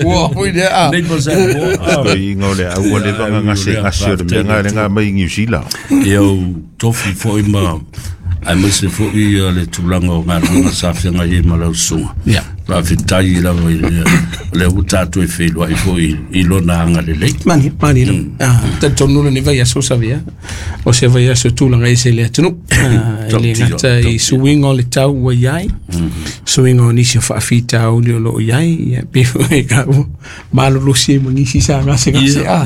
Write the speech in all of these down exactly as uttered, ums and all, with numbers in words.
Ua foi lea a. Nei po se mo. Toeaiga o le au ua leva ona gasegase o le mea lena lea na aumai i Niu Sila. Ia ou tofi foi ma aemaise foi ia le tulaga o galuega sa feagai ai ma lau susuga. Ia. Faafetai lava i le lea ua tatou e feiloai foi i lona agalelei. Mani, mani lava. Ah, talitonu lenei vaiaso Savea, o se vaiaso e tulaga ese i le atunuu. Ah, e le gata i suiga o le tau ua i ai, suiga o nisi o faafitauli o lo o i ai, ia pei foi ka ua malolosi ai ma nisi sa gasegase a.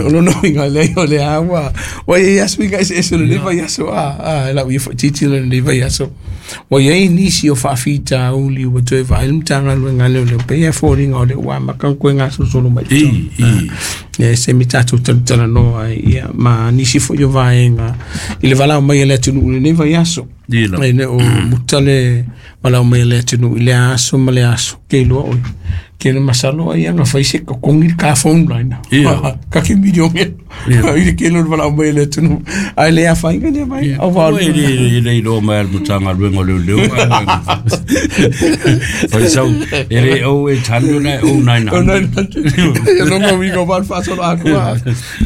O lona uiga leai o lea ua ua i ai lava suiga eseese o lenei vaiaso a, a e lau ia faititi lenei vaiaso. Ua i ai nisi o faafitauli ua toe vaai le Matagaluega a Leoleo, pei e foliga o lea ua amata ona toe gasolosolo mai i totonu. I, i. Ia, se taimi tatou talatalanoa ai, ia, ma nisi foi o vaega i le valaau mai a le atunuu i lenei vaiaso. I la. E le o muta le valaau mai a le atunuu i lea aso ma lea aso. Ke iloa oi. Ke le masalo ai ana fai se totogi le ka phone line. Ia. Ka ke milione. Ia. I le kele o le valaau mai a le atunuu. Ai le afaina lea mai. Au va Ua e le e le iloa mai a le Matagaluega o Leoleo. Fai sau, e le oh eight hundred ae oh nine Oh hundred. nine hundred. Ia longa uiga o valu faasolo atoa.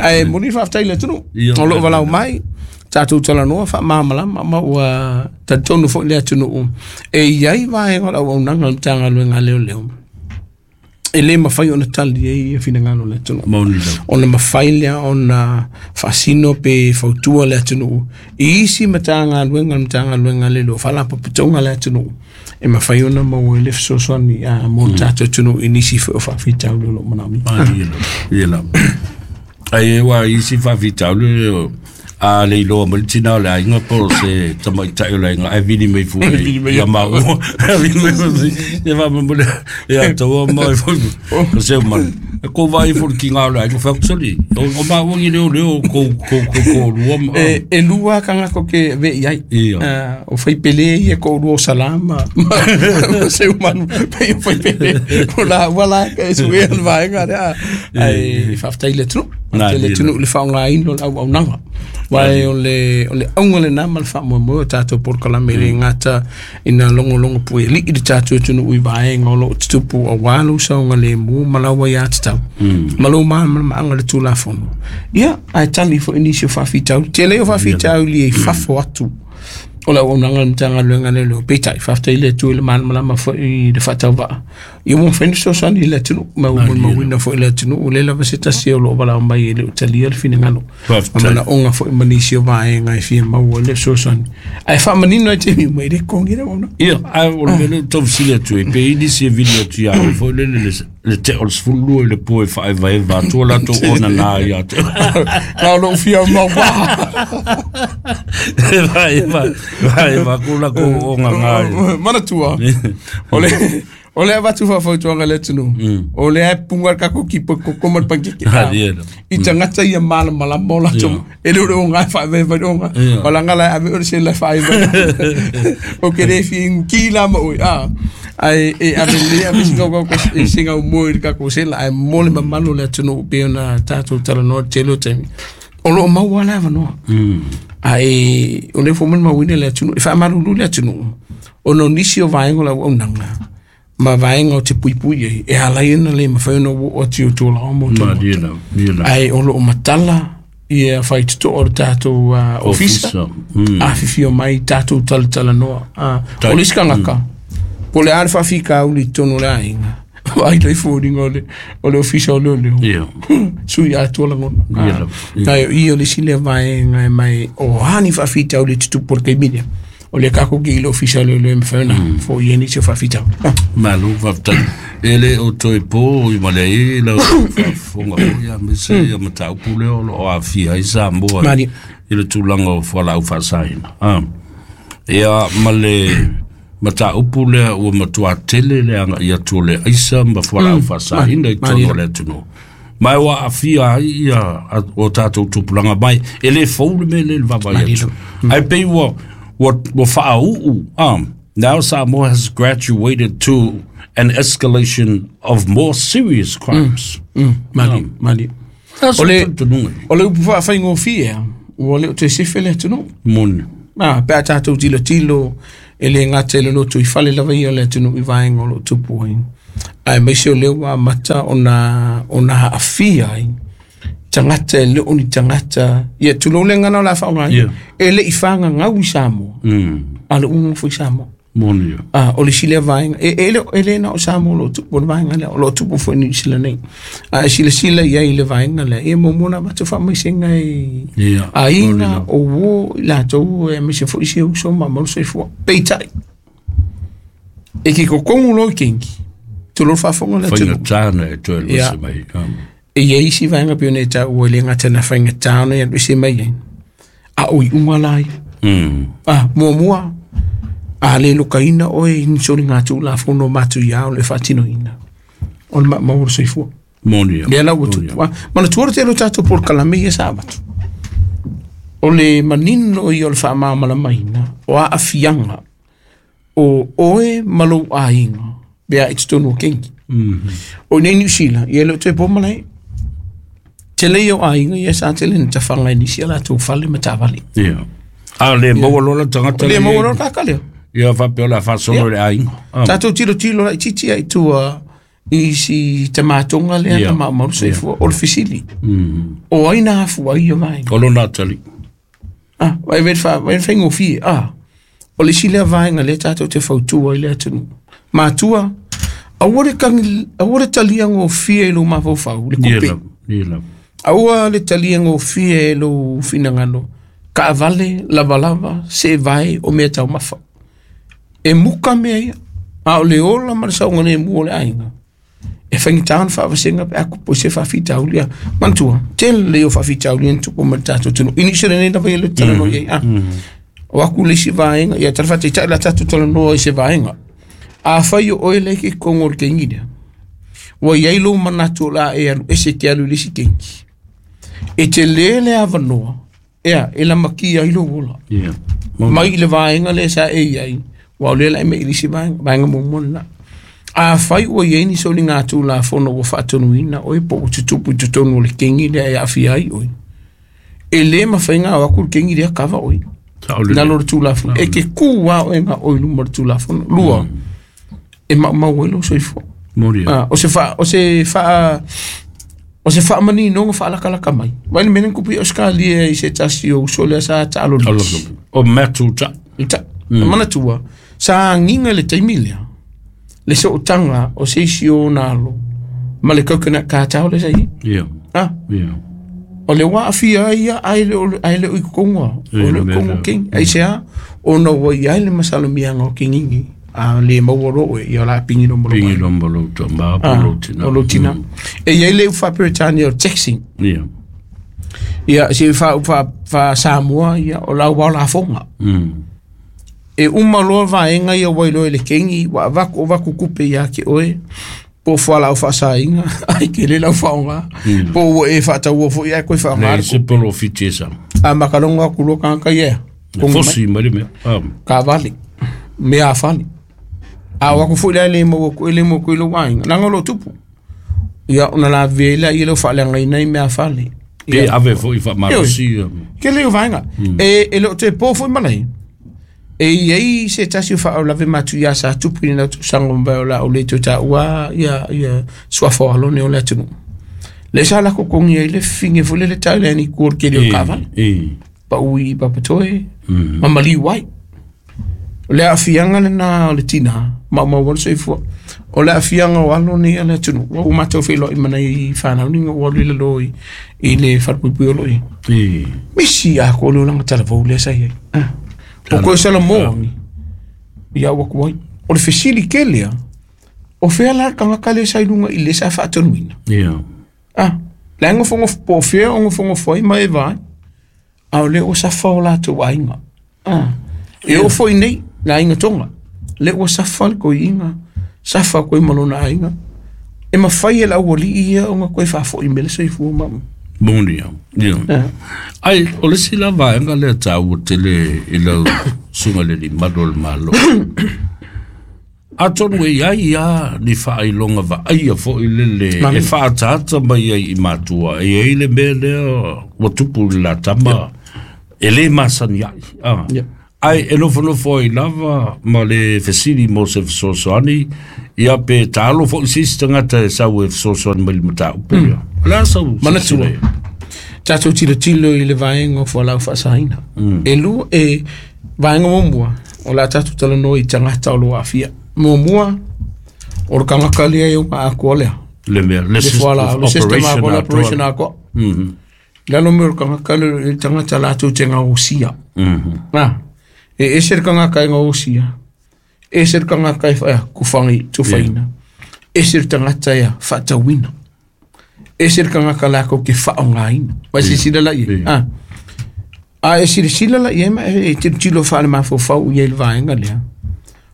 Ae moni le faafetai i le atunuu. Ia. O loo valaau mai tatou talanoa faamalamalama ma ua talitonu foi le atunuu e i ai vaega o le auaunaga o le Matagaluega a Leoleo e le mafai ona tali ai ia finagalo o le atunuu. Moni lava. Ona mafai lea ona faasino pe fautua le atunuu i isi Matagaluega o le Matagaluega a Leoleo faalapotopotoga a le atunuu e mafai ona maua ai le fesoasoani a mo le tatou atunuu i nisi foi o faafitauli o lo o manaomia. Ah, ia lava, ia lava. Ai e ua isi faafitauli o a le iloa mai le tina o le aiga po o se tamaitai o le aiga ae vili mai fua Vili mai ia maua. Vili mai fua. Ia faamolemole ia taua mai foi o se manu. E kou vaai foi le kiga o le aiga fai atu soli. O o maua ni leo leo kou kou kou kou lua ma. E, e lua tagata ou te ve i ai. Ia. Ah, o faipele ia ko lua o Salama ma ma Seumanu pei o faipele o la ua la e suea le vaega lea. Ae faafetai i le atunuu. Na, Faafetai i le ia. atunuu i le faaaogaina o le auaunaga. Aua o le o le auga lena ma le faamoemoe o tatou polokalame e le gata ina logologo puelii le tatou atunuu i vaega o loo tutupu aua lou saogalemu ma lau aiatatau ma lou malamalamaaga i le Tulafono. Ia, ae tali foi nisi o faafitauli. Tele o faafitauli e i fafo atu o le auaunaga a le Matagaluega a Leoleo. Peitai, faafetai i le Atua i le malamalama foi i le faatauvaa. Ia ua mafai ona fesoasoani i le atunuu, ma ua molimauina foi i le atunuu, o lea lava se tasi o lo o valaau mai e le o talia le finagalo. Faafetai. Ma manaoga foi ma nisi o vaega e fia maua le fesoasoani. Ae faamanino ai taimi uma, e le totogi le auaunaga. Ia, ae o le mea lea ou tau fesili atu ai, pe i ai nisi e vili atu ia oe foi lele le le tea o le sefulu lua i le po e faaevaeva atu o latou onana ia te oe. Na o lou fia maua. E vaeva, vaeva atu latou onana i. Manatua, o le o le avatu faafautuaga i le atunuu, o lea e puga le tatou kipo koko ma le pankeke. Ah, ia la. I tagata ia malamalama o latou, e le o le oga e faaevaeva i le oga. Ia. O laga la e ave oe le sela e faaevaeva. O ke le fia igu la ma oe. Ah, ae e ave lelei ave se gaumoe i le tatou sela, ae mo le mamalu o le atunuu pei ona tatou talanoa i le tele o taimi. O loo maua le avanoa. Ae o lea foi molimauina le atunuu, e faamalulu le atunuu, ona o nisi o vaega o le auaunaga ma vaega o te puipui ai, e ala ai ona le mafai ona oo atu i o tulaga mo Ma, tonu. ia la, ia la. Ae o loo matala ia faitotoa o le tatou ah, ofisa, Ofisa, mm. afifio mai tatou talatalanoa. Ah, Tai- o le isi tagata, po o le a le faafitauli i totonu o le aiga, vaai loa i foliga o le o le ofisa o leoleo. Ia. Sui atoa lagona. Ia Ah, lava, ia. Ae o i o le isi lea vaega e mai o a ni faafitauli e tutupu o le taimi lea. O lea tatou te i le ofisa o leoleo e mafai ona foia ai nisi o faafitauli. Ah. Malo faafetai. E le o toe po i ma le ai lau faafofoga foi aemaise ia mataupu lea o lo o aafia ai Samoa Mali. i le tulaga o fualaau faasaina. Ah. Ia ma le mataupu lea ua matua tele le agai atu o le aisa ma fualaau faasaina i totonu o le atunuu. Ma ua aafia ai ia a- o tatou tupulaga mai. E le fou le mea lea i le vaavaai atu. Ae pei ua ua ua faauu. Ah. Now Samoa has graduated to an escalation of more serious crimes. Mm, mali, mali. That's O le- talitonuga. O le upu faafaigofie a, ua le o toe sefe le atunuu. Moni. Ah, pe a tatou tilotilo e le gata i le loto i fale lava ia o le atunuu i vaega o loo tupu ai. Ae maise o lea ua amata ona ona aafia ai tagata e le o ni tagata ia tulou le gagana o le a faaaogaina e le i fagagau i Samoa a le uga foi Samoa. Moni ia. Ah, o le isi lea vaega e, e, le, e le na o Samoa o lo o tupu o le vaega lea o lo o tupu foi i Niu Sila nei. A e silasila i ai i le vaega lea ia muamua ona avatu faamaisega i Ia. aiga o uo i latou e aemaise foi si uso ma malu soifua. Peitai e ke kokogu loa i kengi tulou le faafofoga le atunuu. Faigata na e toe Ia. alu ese mai. Ah. E i ai isi vaega pei ona e taua e le gata na faigata ona e alu ese mai ai a o iuga la ia. Mm. Ah, muamua a le lokaina oe i ni soliga tulafono matuia o le faatinoina o le maumau o le soifua. Moni ia. Lea la ua Moni tupu. ia. Ah, manatua le tele o tatou polokalame ia sa avatu. O le manino ia o le faamalamalamaina o aafiaga o oe ma lou aiga pe a i totonu o kengi. O i nei Niu Sila, ia e le o toe po malae. Tele ia o aiga ia sa tele na tafaga i nisi a latou fale ma taavale. Ia. A le maua loa le tagata Le le maua loa le kaka lea. Ia faapea o le a faasolo i le aiga. Ah. Tatou tilotilo laitiiti ai tua i si tamatoga lea Ia. na maumau le soifua o le fesili. Mm. O ai na afu ai ia vaega. O lona atalii. Ah, vai ver fa vai faigofie. Ah, o le isi lea vaega lea tatou te fautua ai le atunuu. Matua, aua le kagi aua le talia gofie i lou mafaufau le Ia kupe. lava. Ia lava. Aua le talia gofie i lou finagalo. Kaavale, lavalava, seevae o mea taumafa. E muka mea ia. A o le ola ma le saogalemu o le aiga. E faigata ona faavasega pe a kupu i se faafitauli a. Manatua, tele lea o faafitauli na tupu ma le tatou atunuu. I Niu Sila nei lava ia le talanoa i ai. Ah. O aku le isi vaega, ia tala faataitai la tatou talanoa i se vaega. Afai o oe le e ke kogo o le kengi lea. Ua iai lou manatu o le a e alu ese ke alu i le isi kengi. E tele le avanoa, ea, e lamakia ai lou ola. Ia. Moni. Mai i le vaega lea sa e iai, ua o lea la e mai i le isi vaega, vaega muamua lena. Afai ua iai ni soliga tulafono ua faatonuina oe po ua tutupu i totonu o le kengi lea e aafia ai oe. E lē mafai ona ao atu le kengi lea kava oe. Sao lelei. Lalo o le tulafono. E ke kū a oe ga oe i luma o le tulafono. Lua, e maumau ai lou soifua. Moni ia. Ah, o se fa o se fa o se faamaninoga faalakalaka mai. Vai le mea lea na kupu i Australia i se tasi o uso lea sa taalo Alo liti. lava. O Matthew Ta. I ta, mm. manatua, sa agiga i le taimi lea, le sootaga o se isi o ona alo, ma le coconut cartel lea sa i ai. Ia. Ah, Ia. o le ua aafia ai ia ae le o ae le o i kokoga, o Ia, le le mea kogo lea. kengi. Ai se a, ona ua iai le masalomiaga o kegigi, a le maua loa oe, ia o le a pigi loa ma lou Pingi aiga. loa ma lou tama po Ah, lou tina. o lou tina. E iai le upu faa-Peretania o le taxing. Ia. Ia, se fa fa fa Samoa ia o lau wao lafoga. Mm. E uma loa vaega ia ua iloa i le kengi, ua avaku o vaku kupe ia ke oe, po o fualaau faasaina, ai ke le lau faaaoga, po ua e faataua foi ae koe faaaoga Le le se kupe. polofiti e sa. A makalogo aku loa tagata ia, E kogi mai, fosi mai le mea. Ah. kaavale, mea afale. A o aku foi la e le maua ku- e le maua ku i lou aiga, leaga o loo tupu. Ia ona lavea ai laia leu faaleagaina i mea afale. Pe Ia, ave foi faamalosi. ia. ke le o vaega. E, e le o toe po foi malae. E iai se tasi o faalavelave matuia sa tupu i lena tausaga mavae o la o le toe taua ia, ia suafa o alone o le atunuu. Le sa lako kogi ai le fifine foi lele tau le ani kua o le kele o le E. kaavale. E. Pau i Papatoe, ma maliu ai. O le aafiaga lena o le tinā, maumau ai le soifua. O le aafiaga o alo nei a le atunuu, ua ua matou feiloai ma nai fanauniga ua alu i lalo i, i le falepuipui o loo i. E. Misi atoa le olaga talavou lea sa iai. Ah. O koe salamo ia ua ku ai. O le fesili kele a, o fea la le tagata lea sa i luga i le sa faatonuina. Ia. Ah, le ai gofogof po o fea o gofogofo ai ma e vaai. A o lea ua safa o latou aiga. Ah. E oo foi nei, le aiga Toga. Lea ua safa le koiiga, safa koe ma lona aiga. E mafai e le aualii ia ona koe faafoi mai le soifua ma. Moni ia. Ia. Ah. Ai, o le isi la vaega lea taua tele i lau suga le limalu o le Malo. Atonu e iai ia ni faailoga vaaia foi lele e Mami. faataata mai ai i matua. E iai le mea lea ua tupu i le latama e lē masani ai. Ah. Ia. Ai e nofonofo ai lava ma le fesili mo se fesoasoani ia pe taalo fo'i se isi tagata e sau e fesoasoani mai le mataupu ia. O le a sau Manatua tatou tilotilo i le vaega o fualaau faasaina. E lua e vaega muamua o le a tatou talanoa i tagata o lo o aafia. Muamua o le tagata lea e oga atoa lea. Le mea, le Le system fualaau, le system operation atoa, le atoa. operation atoa. Lalo mea o le tagata le tagata latou te gaosia. Ah, e ese le tagata e gaosia. Ese le tagata e whaea kuwhangi tuwhaina. Ese le tagata e whaatauina. Ese le tagata lākou ke whaongaina. Vai sisila la ie. Ah. A e silasila la ie ma e tilotilo faale mafaufau i ai le vaega lea.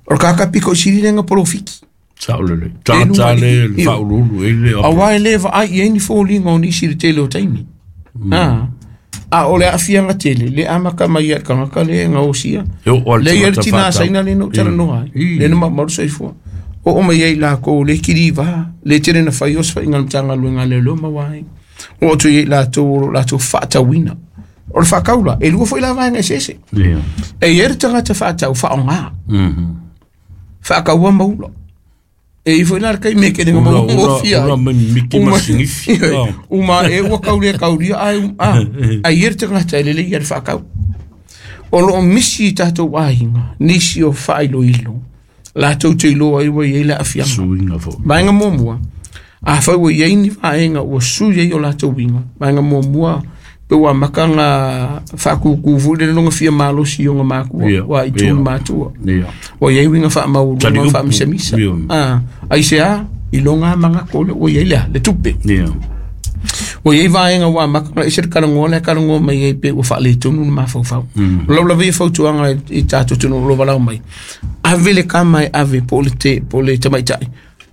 O le kakapiko i sili lenga polofiki. Sao lelei. Tagata le le faauluulu i le Auā e lē vaai i ai ni foliga o nisi i le tele o taimi. Ah. A o le aafiaga tele, le amaka mai ai le tagata lea e gaosia. E oo a le Le ia le tagata tinā faatau. saina le na ou talanoa ai. I. Le na maumau le soifua. Oo mai ai lakou le kilivā, le tele na fai o se faiga le Matagaluega a leoleo ma uaina. Oo atu i ai latou o lo latou faatauina. O le faakaula, e lua foi la vaega eseese. Ia. E i ai le tagata faatau faaaogā. Faakaua maula. E i foi la le taimi e kele Ula- ma ula- ngofia. ula mai miki ma sigifi. Ioe. Uma e ua kaulia kaulia ai um a. Ai i le tagata e lelei ia le faakau. O loo misi i tatou aiga, nisi o faailoilo. Latou te iloa ai ua i ai le aafiaga. Suiga foi. Vaega muamua, afai ua i ai ni vaega ua sui ai o latou uiga. Vaega muamua, pe ua amata ona faakukū foi le loga fia malosi i ona matua, Ia, ua i ia. tū matua. Ia. Ua i ai uiga faamaualuga Taliupu. faamisamisa. Ia. Ah, ai se a, i loga magako le ua i ai lea, le tupe. Ia. Ua i ai vaega ua amata ona ese le kalagoa lea kalagoa mai ai pe ua faaletonu le mafaufau. O lau lava ia fautuaga i i tatou atunuu o lo o valaau mai. Ave le kama e ave po o le te po o le tamaitai.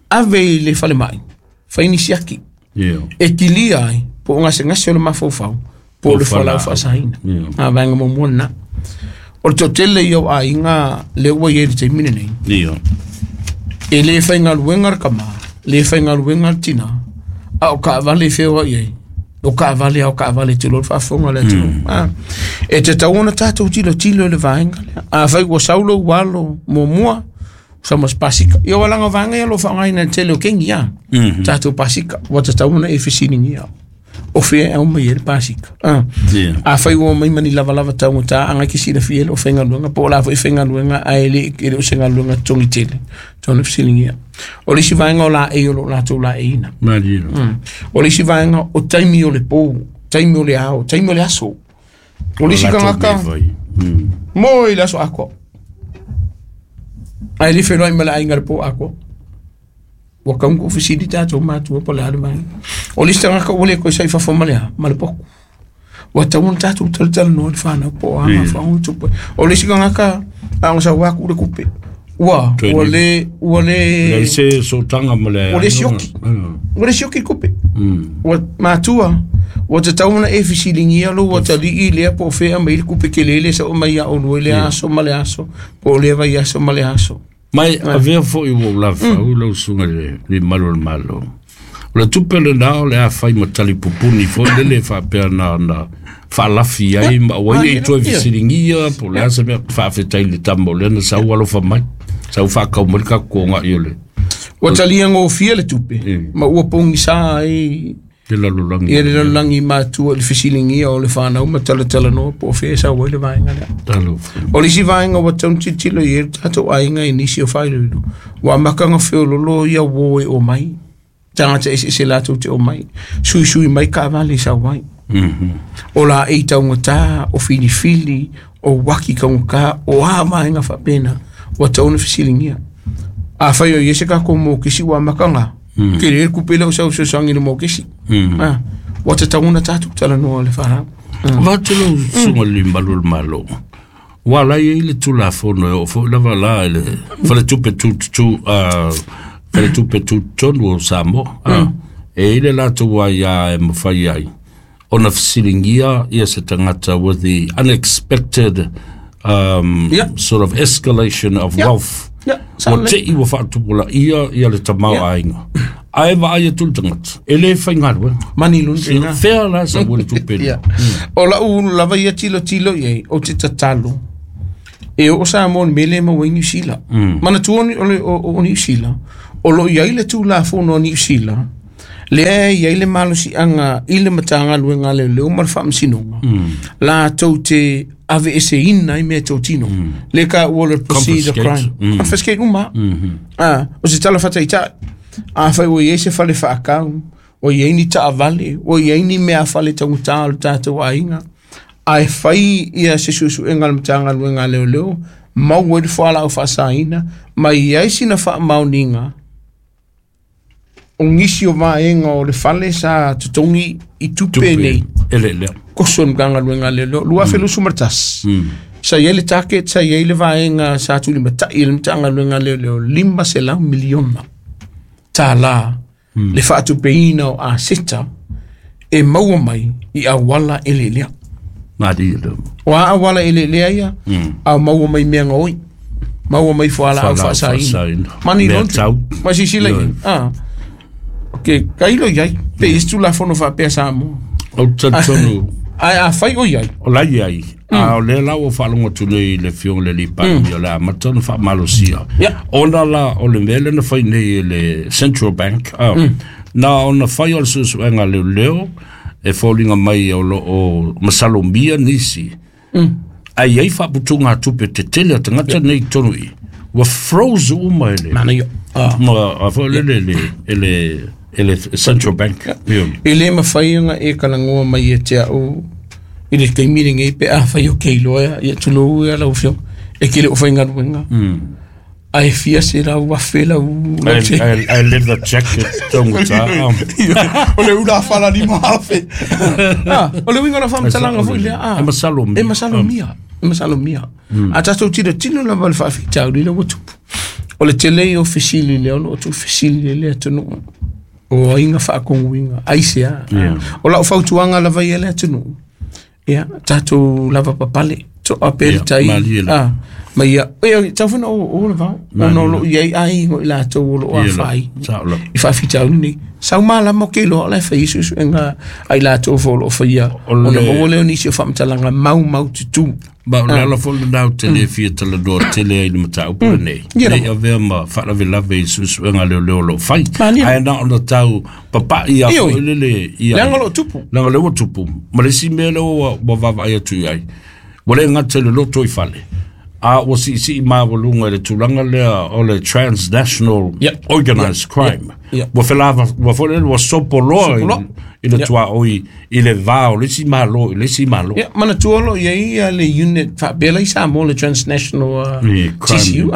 Ave i le falemai. Fai ni siaki. Ia. E kilia ai po o gasegase o le mafaufau po o le fualaau faasaina. Ia. A vaega muamua lena. O le toatele ia o aiga lea ua i ai i le taimi lenei. Ia. E lē faigaluega le kamā, lē faigaluega le tinā, a o kaavale e feoai ai. O kaavale a o kaavale te loa le faafofoga a le atunuu. Ah. E tatau ona tatou tilotilo i le vaega lea. Afai ua sau lou alo muamua, sau ma se pasika. Ia ua laga vaega ia o lo o faaaogaina i le tele o kegi a. Tatou pasika, ua tatau ona e fesiligia. O fea e au mai ai le pasika. Ah. Ia. Afai ua mai ma ni lavalava taugata agai ke silafia ai loo faigaluega po o la foi faigaluega ae le e le o se galuega totogi tele. Tau fesiligia. O le isi vaega o laei o loo latou laeiina. Malie. O le isi vaega o taimi o le pou, taimi o le ao, taimi o le aso. O le isi tagata moe i le aso atoa. Ae le feloai ma le aiga i le po atoa. Ua taunuu fesili tatou matua po o le a le vaega. O le isi tagata ua le toe sai fafo ma le a, ma le poku. Ua tatau ona tatou talatalanoa le fanau po o a mafuaaga ua tupu ai. O le isi tagata a ona sau atu le kupe. Ua, ua le, ua le, Leai se sotaga ma le ua le sioki. Ua le sioki le kupe. Ua matua, ua tatau ona e fesiligia lou atalii lea po o fea mai le kupe kelele sa o mai ia oulua i le aso ma le aso, po o lea vaiaso ma le aso. Mai avea foi ua ou lafau lau susuga i le le malu o le Malo. O le tupe lenā o le a fai ma talipupuni foi lele faapea na na faalafi ai ma ua ai nei toe fesiligia po o le a se mea faafetai i le tama o lea na sau alofa mai. Sau faakau mai le kakuoga'i o le Ua talia gofia le tupe, ma ua pogisā ai le lalolagi. ia le lalolagi matua i le fesiligia o le fanau ma talatalanoa po o fea e sau ai le vaega lea. Talofa. O le isi vaega ua tatau ona tilotilo i ai le tatou aiga i nisi o faailoilo. Ua amataga feololo ia uō e omai. Tagata eseese latou te omai. Suisui mai kaavale e sau ai. O laei taugatā, o filifili, o uaki taugatā, o a vaega faapena. Ua tatau ona fesiligia. Afai o i ai se tatou mokesi ua amataga. Ke le kupe lea o sau fesoasoani i le mokesi. Ah, ua tatau ona tatou talanoa le fanau. Avatu lau susuga i le malu o le Malo. Ua ala ai le tulafono e oo foi lava la i le faletupe tututu faletupe tutotonu o Samoa. E i le latou aiā e mafai ai ona fesiligia ia se tagata with the unexpected um, Yeah. sort of escalation of Yeah. wealth. Yeah, Ua sa lelei. te'i ua faatupulaia ia le tamaoaiga. Ae vaai atu le tagata, e lē faigaluega. Mani lona tena. Fea la sau le tupe lea. Ia. O lau lava ia tilotilo i ai, ou te tatalo. E o Samoa le mele ma Niu Sila. Manatua o le o Niu Sila, o lo iai le Tulafono a Niu Sila, lea e iai le malosiaga i le Matagaluega a Leoleo ma le Faamasinoga, latou te aveeseina ai mea totino. Le ka ua le proceed a crime. Confiscate uma. Ah, o se tala fataitai. Afai ua iai se fale faakau, ua iai ni taavale, ua iai ni mea fale taugata o le tatou aiga, ae fai ia se suesuega a le Matagaluega a Leoleo, maua ai le fualaau faasaina, ma iai sina faamaoniga o nisi o vaega o le fale sa totogi i tupe nei. Ele lea. Koso le Matagaluega a Leoleo, lua afe lusu ma le tasi. Sa iai le target, sa iai le vaega sa tulimatai e le Matagaluega a Leoleo, lima selau miliona tālā le faatupeina o aseta e maua mai i auala eleelea. Mali le. O a auala eleelea ia, a maua mai mea gaoi, maua mai fualaau faasaina. Money laundry. Ma sisila i. Ah. Ok, kailo iai, pe isi Tulafono faapea Samoa. O talitonu. Ai a fai o iai. O la iai. A o lea la ua faalogo atu nei i le Afioga i le Alii Palemia o le amata ona faamalosia. Ona la o le mea lea na fai nei e le Central Bank, na ona fai o le suesuega a leoleo e foliga mai o loo masalomia nisi. Ai iai faaputuga tupe tetele a tagata nei i totonu i. Ua froze uma e le. Manaia. Ma a foi le le le le le Central Bank. E le mafai ona e kalagoa mai e te au i le taimi lenei pe afai o keiloa ia tulou ia lau afioga e ke le o faigaluega. Ae fia se lau afe lau I, I live the jacket taugata. O le ula fala lima afe. Ah, o le uiga o le faamatalaga foi lea. E masalomia. E masalomia. E masalomia. A tatou tilotilo lava le faafitauli lea ua tupu. O le tele o fesili lea o loo tuufesili le atunuu. O aiga faakoguiga aisea. O lau fautuaga lava ia le atunuu. Ia, tatou lava papale. Toa pe le tai. Ah, ma ia, ia tau fana o o le vao. Ona o loo iai aiga o i latou o loo afaai. I faafitauli nei. Sau malama o ke loa la e fai suesuega ai latou fo o loo faia. Ona maua lea o nisi o faamatalaga maumau tutu. Ma o le ala foi lenā ou te le fia talanoa tele ai le mataupu lenei. Nei avea ma faalavelave i suesuega leoleo o loo fai. Ae na ona tau papai a foi lele ia. Leaga o loo tupu. Leaga lea ua tupu. Ma le isi mea lea ua vaavaai atu i ai. Ua le gata i le loto i fale. A ua siisii maualuga i le tulaga lea o le transnational organized crime. Ua felava, ua foi lele ua sopoloa i le tuaoi i le va o le isi malo i le isi malo. Ia, manatua o loo iai ia le unit faapea la i Samoa le transnational T C U,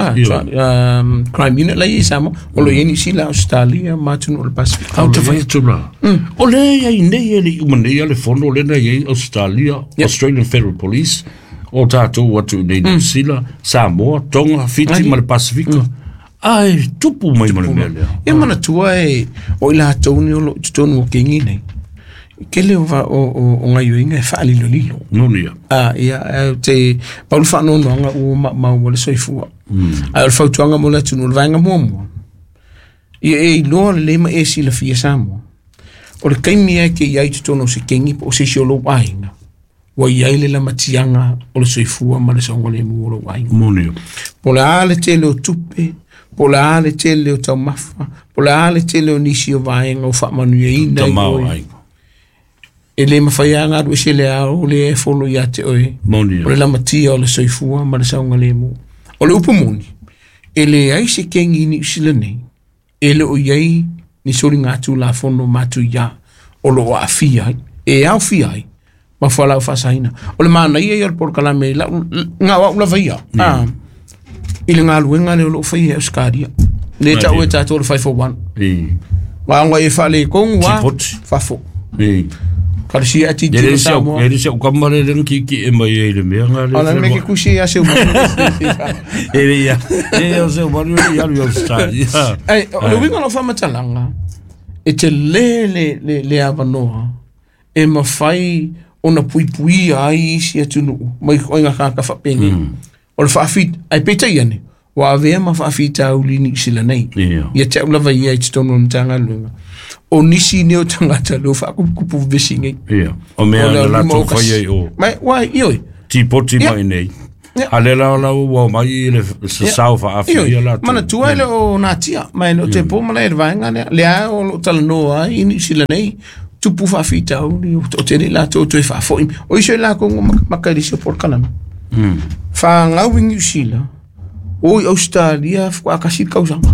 crime unit la i Samoa. O loo iai Niu Sila, Australia ma atunuu o le Pasifika. Au te fai atu la. O lea iai nei e le i uma nei a le fono lea na iai Australia, Australian Federal Police, o tātou atu i nei Niu Sila, Samoa, Tonga, Fiti ma le Pasifika. Ai, tupu mai ma le mea lea. Ia manatua e o i latou ni o loo i totonu o kegi nei. Ke le o o gaioiga e faalilolilo. Moni ia. Ah, ia, te pau le faanoanoaga ua maumau le soifua. Ae o le fautuaga mo le atunuu o le vaega muamua. Ia e iloa lelei ma e silafia Samoa. O le taimi e ke iai totonu o se kegi po o se isi o lou aiga. Ua iai le lamatiaga o le soifua ma le saogalemu o lou aiga. Moni ia. Po o le a le tele o tupe, po o le a le tele o taumafa, po o le a le tele o nisi o vaega o faamanuiaina i oe. E le mafai lava galu ese le ao le e folo ia te oe. Moni ia. O le lamatia o le soifua ma le saogalemu. O le upu moni, e leai se kegi i Niu Sila nei, e le o iai ni soliga Tulafono matuia o loo aafia ai, e aofia ai ma fualaau faasaina. O le manaia ia o le polokalame lau gao au lava ia. Ah, i le galuega lea o loo faia e Australia. Le tau e tatou le five four one. Vaoga e faalekogu a fafo. Kalesia e titilo Samoa. E le se au kama le lena kiki e mai ai le mea nga le. Ala me ke kusi ia se uma. E le ia. E o se uma le ia le Australia. Ai, o le uiga o lau faamatalaga, e te le le le le avanoa e mafai ona puipuia ai isi atunuu mai oiga kaka faapenei. O le faafit ai peitai ane ua avea ma faafitauli Niu Sila nei. Ia te au lava ia i totonu o le Matagaluega. O nisi nei o tagata leo faakupukupu vevesi nei. Ia. O mea na latou fai ai o. Mai, uai, ioi. Tipoti mai nei. A le la la ua mai le sasau faafia la. Manatua e le o natia, mai no te po mala e vaenga lea, lea o lo talanoa ai i Niu Sila nei, tupu faafitauli o te le latou toe faafoi. O iso i lakou maka i le isi o polokalame. Fagau i Niu Sila, o i Australia faakasi le kausaga.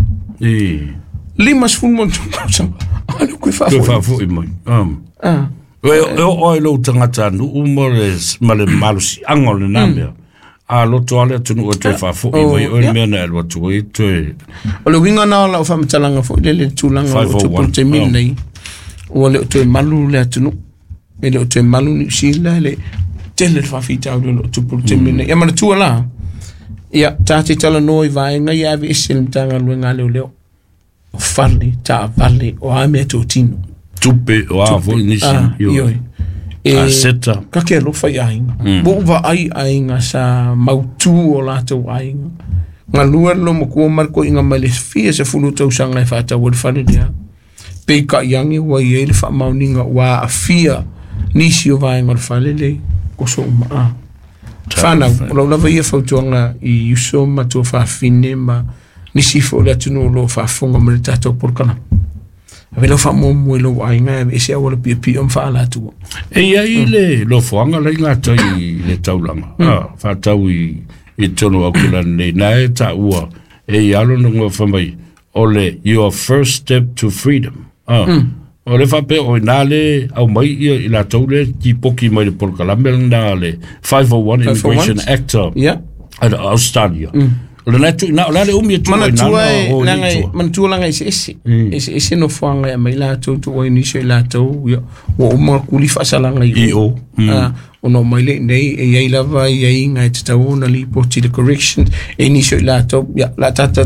Lima sefulu ma ona tolu kausaga. A le koe Toe faafoi. faafoi mai. Ah. E o e lou tagata nuu ma le ma le malosiaga o lena mea. A loto ale atunuu e toe faafoi mai o le mea na e alu atu ai toe. O le uiga na o lau faamatalaga foi lele le tulaga o lo o tupu i le taimi lenei. Ua le o toe malu le atunuu. E le o toe malu Niu Sila, e le tele le faafitauli o lo o tupu i le taimi lenei. Ia manatua la, ia tatou talanoa i vaega ia ave ese le Matagaluega a Leoleo. O fale, taavale, o a mea totino. Tupe o a foi nisi. Ah, ioe. E, Aseta. Ka ke alofa i aiga. Ua ou vaai aiga sa mautū o latou aiga. Galue le lomakua ma le koiga mai le fia sefulu tausaga e faatau ai le fale lea. Peitai age ua iai le faamaoniga ua aafia nisi o vaega o le fale le koso uma. Ah. Whanau, o lau lava ia fautuaga i uso ma tua faafine ma nisi foi o le atunuu o lo o faafofoga mai le tatou polokalame. Ave lau faamuamua i lou aiga e aveese auala piopio ma faalatua. E iai le lofoaga lai gatai i le taulaga, ah, faatau i i totonu o Auckland nei, na e taua e i alo na ngoa fai mai o le your first step to freedom. Ah. O le faapea o ina le au mai ia i latou le tipoki mai le polokalame lena le five oh one Immigration Act Yeah. a Australia. O le tu na o le umi e tu ai na Manatua e o langa ni e tua. manatua langa eseese. Eseese nofoaga e aumai latou tuua i nisi o i latou ia ua uma kuli faasalaga i I o. Ah, ona o mai le nei e iai lava iaiga e tatau ona lipoti le corrections e nisi o i latou ia la tata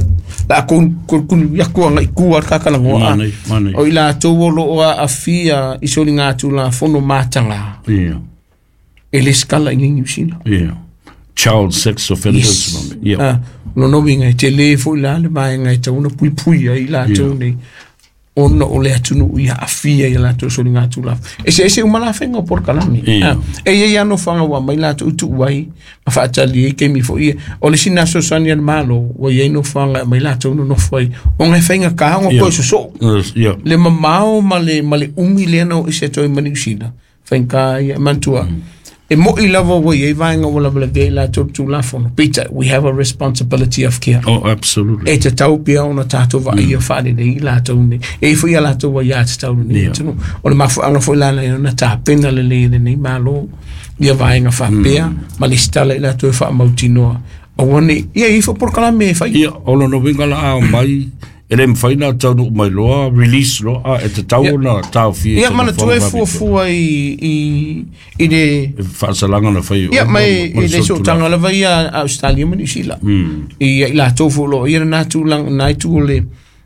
la kun kun kun ia kua ngai kua le kakalagoa. Ah. Manai, manai. O i latou o loo aafia i soligatulafono mataga. Yeah. E le skala i Niu Sila. Yeah. Child sex offenders. Yes. Yeah. Ah, lona uiga e tele foi la le vaega e tatau ona puipui ai i latou nei ona o le atunuu ia aafia ia latou soligatulafono. Eseese uma lafega o polokalame. Yeah. Ah, e iai lava nofoaga ua aumai latou tuu ai ma faatali ai taimi foi ia. O le sina fesoasoani a le Malo ua iai nofoaga e aumai latou nonofo ai ona e faigata ona Yeah. toe sosoo. Yes, yeah. Le mamao ma le, ma le umi lea na oo ese atu ai ma Niu Sila. Faigata ia manatua. E moi lava ua iai vaega ua lavalavea i latou le tulafono. Peter, we have a responsibility of care. Oh, absolutely. E tatau pea ona tatou vaaia faalelei i latou nei. E i foi ia latou aiā tatau lenei Yeah. atunuu. O le mafuaaga foi la lea ona tapena lelei e lenei Malo ia vaega faapea ma le sitala i latou e faamautinoa. Aua ne, ia i foi polokalame e fai. Ia, o lona uiga la a mai, e le mafai na taunuu mai loa, release loa, a e tatau Ia. ona taofia i Ia se manatua e nofoaga faapitoa. fuafua i, i, i le E faasalaga na fai Ia, o mai ma i le le solitulafono. sootaga lava ia a Australia ma Niu Sila. I i latou foi o loo ia lena tulaga na itu o le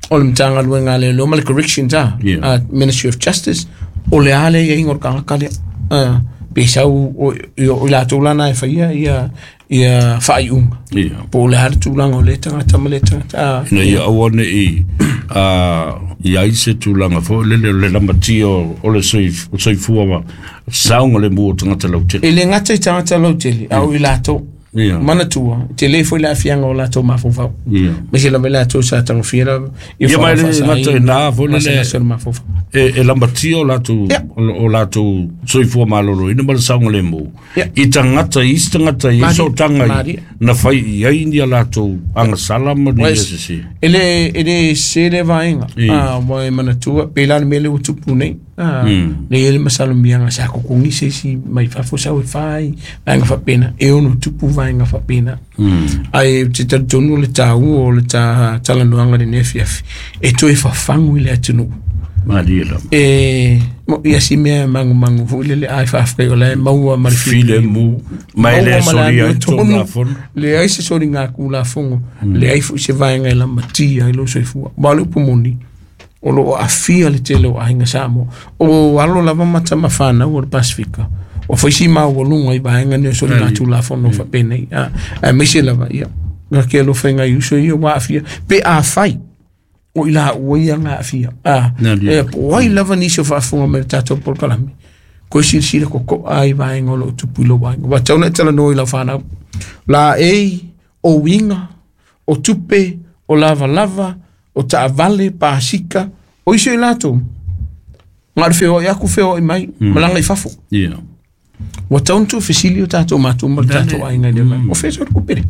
o le Matagaluega a Leoleo ma le Corrections a Yeah. a Ministry of Justice o le a le iaiga o le tagata lea. Ah, pe sau o i o i latou lana e faia ia ia faaiuga. Ia. Po o le a le tulaga o le tagata ma le tagata. Ah, Ina ia aua nei a i ai se tulaga foi lele o le lamatia o o le soif- o soifua ma saoga le mu o tagata lautele. E le gata i tagata lautele, a o i latou. Yeah. Manatua, tele foi le aafiaga o latou mafaufau. Ia. Ma se lava i latou sa tagofia lava ia Ia, ma e le gata i na foi lele masemasea o le mafaufau. e, e lamatia o latou Yeah. o, o latou soifua maloloina ma le saogalemu. Yeah. I tagata i isi tagata i Maria, sootaga i Maria. na fai i ai ni a latou agasala ma ni Wais, sese. E le e le se le vaega. Ia. Ah, ua e manatua pe la le mea lea ua tupu nei. Ah, Mm. le ia le masalomiaga sa kokogi se isi mai fafo sau e fai vaega faapena e ono tupu vaega faapena. Mm. Ae ou te talitonu o le taua o le ta talanoaga lenei afiafi e toe fafagu i le atunuu. Maria lava. E mo ia si mea e magumagu foi lele ai faafetai o la e maua ma le File mu ma e le Maua ma le solia ai amiotonu. tulafono. Leai se soligatulafono, leai foi se vaega e lamatia ai lou soifua. Ma o le upu moni, o loo aafia le tele o aiga Samoa. O alo lava ma tamafanau o le Pasifika. O faisi maualuga i vaega nei o soligatulafono faapenei. Ah, aemaise lava ia ka ke alofa i nai uso ia ua aafia pe afai o i laua ia ga aafia. Ah, Nani. e po ai lava nisi o faafofoga mai le tatou polokalame koe silasila koko'a ai vaega o loo tupu i lou aiga ua tau na e talanoa i lau fanau. La ei o winga o tupe o lava lava o taavale pasika o iso i latou ngā feo i aku feo i mai malanga i fafo. Ia. Ua taunu fesili o tatou matou ma le tatou aiga i le mai. O fea so le kupere.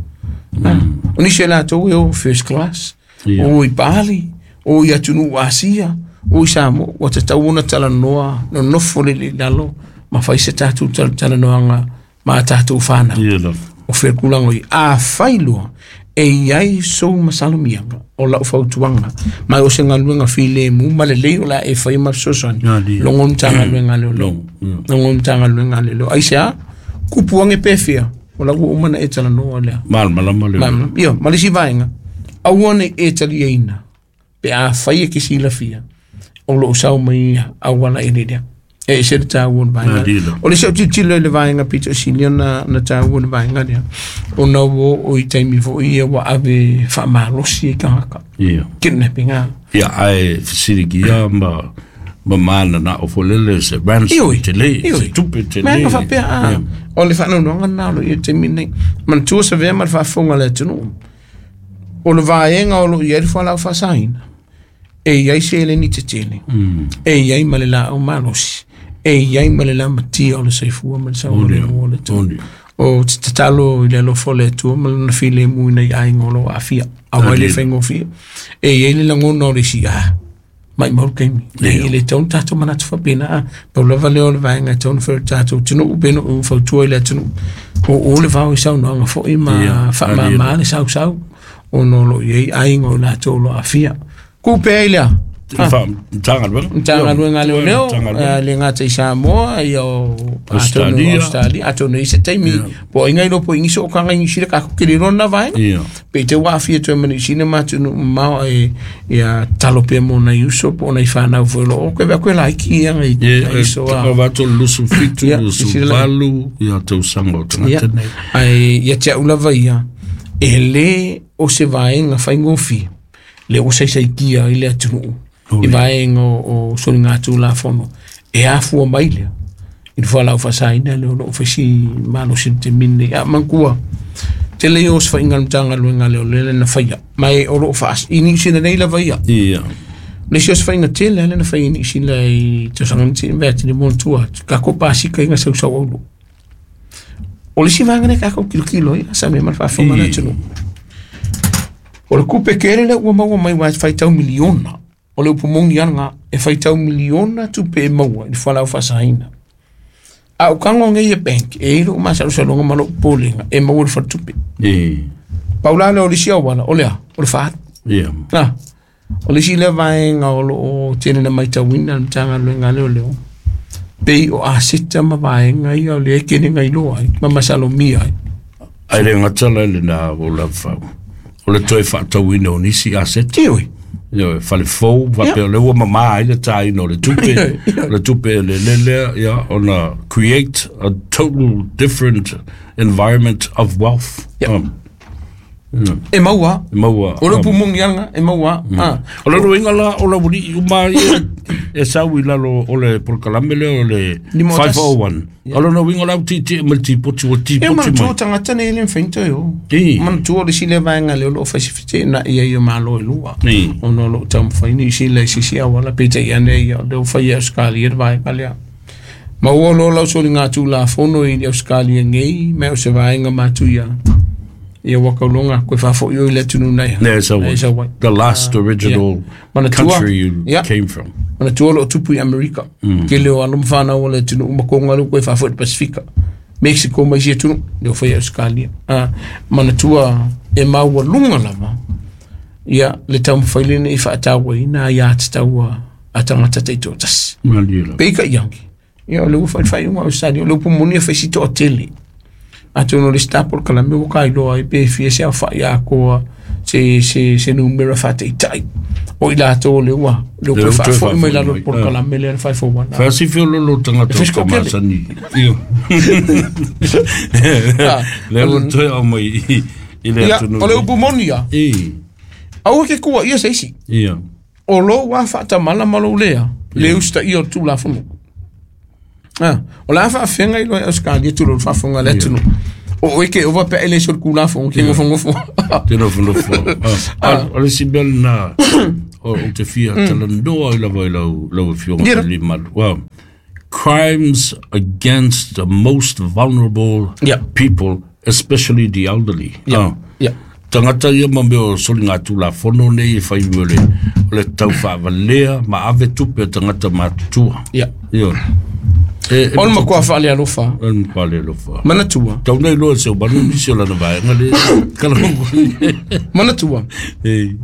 O nisi e latou e o first class, o i Bali, o i atunuu Asia, o i Samoa, ua tatau ona talanoa nonofo le i lalo ma fai se tatou talanoaga ma tatou whanau. Ia O fea kulaga i a whailua e iai sou masalomiaga o lau fautuaga mai o se galuega filemu ma lelei o le a e faia ma fesoasoani logo Matagaluega a Leoleo logo Matagaluega a Leoleo aisea kupuage pe fia o lau ua uma na e talanoa lea malamalama le ia ma le isi vaega aua nei e taliaina pe a fai e ke silafia o loo sau mai ia auala i lea e se le tāua le vaega o le se o tilotilo i le vaega pito silia na na tāua le vaega lea ona ua o i taimi foʻi ia ua ave faamalosi ai tagata ia kidnapping a ia ae fesiligia ma ma mana na o folele se ransom tele se tupe tele mea faapea a o le faanoanoaga lena o loo ia taimi nei manatua savea ma le faafofoga a le atunuu o le vaega o loo i ai le fualaau faasaina e iai se eleni tetele e iai ma le laau malosi e iai ma le lamatia o le soifua ma le saogalemu o le atunuu o te tatalo i le alofa o le Atua ma lona filemu ina i aiga o loo aafia aua e le faigofie e iai le lagona o le isi a mai mau le taimi e le tau ona tatou manatu faapena a pau lava lea o le vaega e tau ona fai o le tatou atunuu pe na ou fautua i le atunuu o o le vao i saunoaga foʻi ma faamāmā le sausau ona o loo iai aiga o latou o loo aafia kupe ai lea Matagaluega Matagaluega a Leoleo le gata i Samoa ia o atonu Australia atonu i se taimi po o inga ilo po ingiso o kanga ingi sila kako kiri rona vaega pe te ua afia toe mani sina matunu mao e ia talo pea mo nai uso po o nai whanau foi lo o koe vea koe laiki ia ngai iso a o vato lusu fitu lusu valu ia tausaga o tagata nei ai ia te au lava ia e le o se vaega faigofie le o saisaitia i le atunuu i vaega o soligatulafono e afua mai lea i le fualaau faasaina lea o loo faisi malosi le taimi lenei a manatua tele ia o se faiga o le Matagaluega a Leoleo lea na faia ma o loo faas i Niu Sila nei lava ia ia le isi o se faiga tele lea na faia i Niu Sila i tausaga na tea vea tele manatua atu takou pasika i gasausau aulo o le isi vaega lea takou kilokilo ai sa mea ma le faafofoga a le atunuu o le kupe kele lea ua maua mai ua e faitau miliona o le upu moni ana e faitau miliona tupe e maua i le fualaau faasaina a o kago nei e bank e i loo masalosaloga ma loo popolega e maua le faletupe pau la lea o le isi auala o lea o le faaalu a o le isi lea vaega o loo tele na matauina le Matagaluega a Leoleo pei o aseta ma vaega ia o lea e kene gailoa ai ma masalomia ai ai le gata la lena o lafau o le toe faatauina o nisi aseta Ioe. Ioe, fale fou, faapea o le ua mamā ai le tāina o le tupe, o le tupe e lelele lea, ia, ona create a total different environment of wealth. Yeah. Um, yeah. E maua. E maua. O le upu moni ana, e maua. Ah. O le ruinga la o la wuri uma ia e sau i lalo o le polokalame lea o le Lima o five tasi. oh one. O lona uiga la u tietie ma le tipoti ua E tipoti manatua mai. tagata nei e le mafai ona toe o. I. Manatua o le isi lea vaega lea o loo fai se feteenai ai o Malo e lua. I. Ona o loo taumafai Niu Sila i se isi auala peitai ane ia o lea ua faia e Australia le vaega lea. Ma ua loa lau soligatulafono i le Australia nei ma o se vaega matuia. Ia ua kauloga koe faafoʻi o i le atunuu nei. Ne, sau E sau ai. The last original Manatua. country you Yeah. came from. Manatua o loo tupu i Amerika. Kele o alo ma whanau o le atunuu ma konga lea ua koe faafoʻi i le Pasifika. Mexico ma isi atunuu lea ua faia e Australia. Ah, manatua e maualuga lava ia le taumafai lenei faatauaina aiā tatau a tagata taitoatasi. Malie la. Pei ka iangi. Ia o le ua fai le faaiuga a Australia o le upu moni e fai si toatele. Atonu o le isi polokalame ua kailoa ai pe fia se aofaʻi atoa se se se numera faataitai o i latou o le ua le ua Le toe ua toe faafoʻi mai faafoʻi lalo mai. le polokalame lea le five oh one. Faasifi o lolo tagata E o fisko kele. kamasani. Io. Le ua toe au mai i i le Ia atunuu. o le upu moni ia I. aua ke kua ia se isi Ia. o lou a faatamala ma lou lea le usitaia o le tulafono. Ah, o le a faafeaga i loa e Australia tulou le faafofoga a le atunuu. O oe ke ova pe ele so kula fo ke ngofo ngofo. Te nofo nofo. O le si mea lena o te fia talanoa i lava i lau lau afioga Aliimalu. Wow. Crimes against the most vulnerable yeah. people, especially the elderly. Yeah. Uh, yeah. Tangata ia ma mea o soli ngā tūlafono nei e whai mea o le, o le tau whaavalea ma ave tupe o tangata matutua. Yeah. Ia. E, e o le makua whaale alofa. O le makua whaale alofa. Manatua. Tau nei loa se o manu nisi o lana vaenga le kalango. Manatua. E.